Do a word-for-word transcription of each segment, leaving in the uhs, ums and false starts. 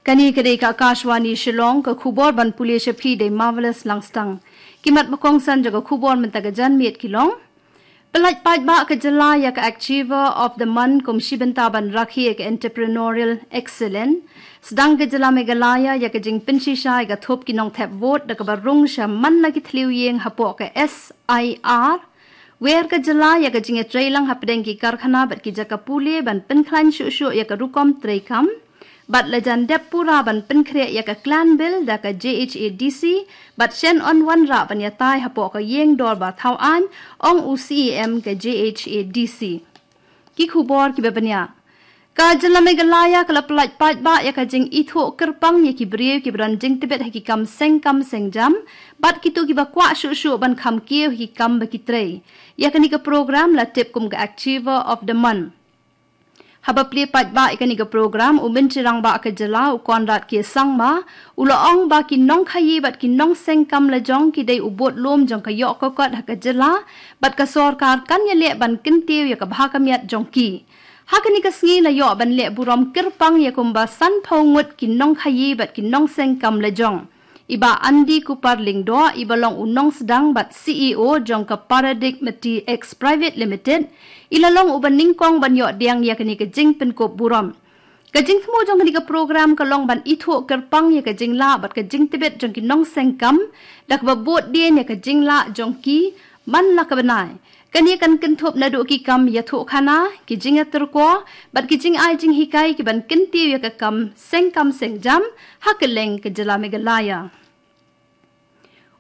Kane ka dei ka Akashvani Shillong, ka khubor ban pule sha phi da i Marvelous Langstang. Ki mat ba kongsan jong ka khubor mynta ka janmiet ki long: Pyllait paidbah ka jylla ïa ka Achiever of the Month kum shi bynta ban rakhe ïa ka Entrepreneurial Excellence. Sdang ka jylla Meghalaya ïa ka jingpynshisha ïa ka thup ki nongthep vote da kaba rung sha man la ki thliew ïing hapoh ka S I R. Wer ka jylla ïa ka jingïatreilang hapdeng ki karkhana bad ki jaka pule ban pynkhlaiñ shuh shuh ïa ka rukom treikam. Bad la jan dep pura ban pynkhreh ïa ka Clan Bill da ka J H A D C, bad shen yn wanrah ban ïatai hapoh ka ïing dorbar thaw aiñ, ong u C E M ka J H A D C. Ki khubor kiba bniah. Ka jylla Meghalaya ka la pyllait paidbah ïa ka jingithuh kyrpang ïa ki briew kiba don jingtbit ha ki kam seng kam seng jam, bad kito kiba kwah shuh shuh ban kham kiew ha ki kam ba ki trei. Ïa kane ka program la tip kum ka Achiever of the Month. Haba plie paidbah ïa kane ka program, u Myntri Rangbah ka jylla, u Conrad K Sangma, u la ong ba ki nongkhaïi bad ki nongseng kam lajong ki dei u budlum jong ka ïoh ka kot ha ka jylla, bad ka sorkar kan ïaleh ban kyntiew ïa ka bha ka miat jong ki. Ha kane ka sngi la ïoh ban leh burom kyrpang ïa kumba sanphew ngut ki nongkhaïi bad ki nongseng kam lajong. I Bah Andy Kupar Lyngdoh, iba long u nongsdang bad C E O jong ka Paradigmati X Private Limited, i la long uba nyngkong ban ïoh diang ïa kane ka jingpynkup burom. Ka jingthmu jong kane ka program ka long ban ithuh kyrpang ïa ka jinglah bad ka jingtbit jong ki nongseng kam, da kaba bud dien ïa ka jinglah jong ki man la ka bnai. Kane kan kynthup naduh ki kam ïathuhkhana, ki jingïatyrkhong, bad ki jingai jinghikai kiban kyntiew ïa ka kam seng kam seng jam ha kylleng ka jylla Meghalaya.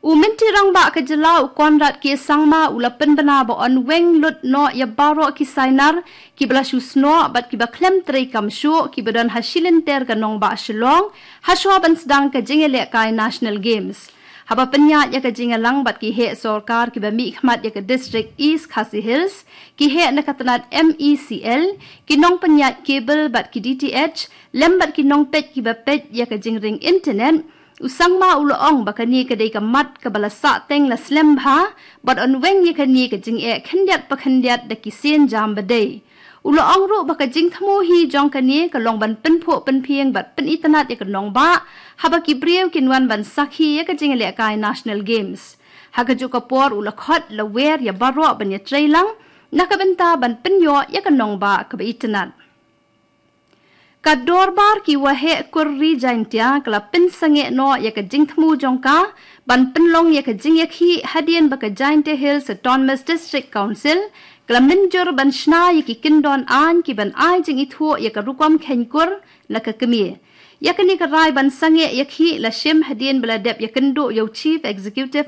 U Myntri Rangbah ka jylla, u Conrad K Sangma, u la pynbna ba yn weng lut noh ïa baroh ki sainar kiba la shu snoh bad kiba khlem treikam shuh kiba don ha shilynter ka nongbah Shillong, hashwa ban sdang ka jingïalehkai National Games. Haba pynïaid ïa ka jingïalang bad ki heh sorkar kiba mihkhmat ïa ka District East Khasi Hills, ki heh na ka tnat M E C L, ki nongpynïaid cable bad ki D T H, lem bad ki nongpeit kiba peit ïa ka jingring internet, u Sangma u la ong ba kane ka dei ka mat kaba la sahteng la slem bha, bad yn weng ïa kane ka jingeh khyndiat pa khyndiat da ki sienjam ba dei. U la ong ruh ba ka jingthmu hi jong kane ka long ban pynphuh pynphieng bad pynitynnad ïa ka nongbah, haba ki briew kin wan ban sakhi ïa ka jingïalehkai National Games. Ha kajuh ka por u la khot la wer ïa baroh ban ïatreilang na ka bynta ban pynïoh ïa ka nongbah kaba itynnad. Ka dorbar ki waheh kur Ri Jaintia ka la pynsangeh noh ïa ka jingthmu jong ka ban pynlong ïa ka jingïakhih hadien ba ka Jaintia Hills Autonomous District Council ka la mynjur ban shna ïa ki kyndon aiñ kiban ai jingithuh ïa ka rukom kheiñ kur na ka kmie. Ïa kane ka rai ban sangeh ïakhih la shim hadien ba la dep ïakynduh ïa u Chief Executive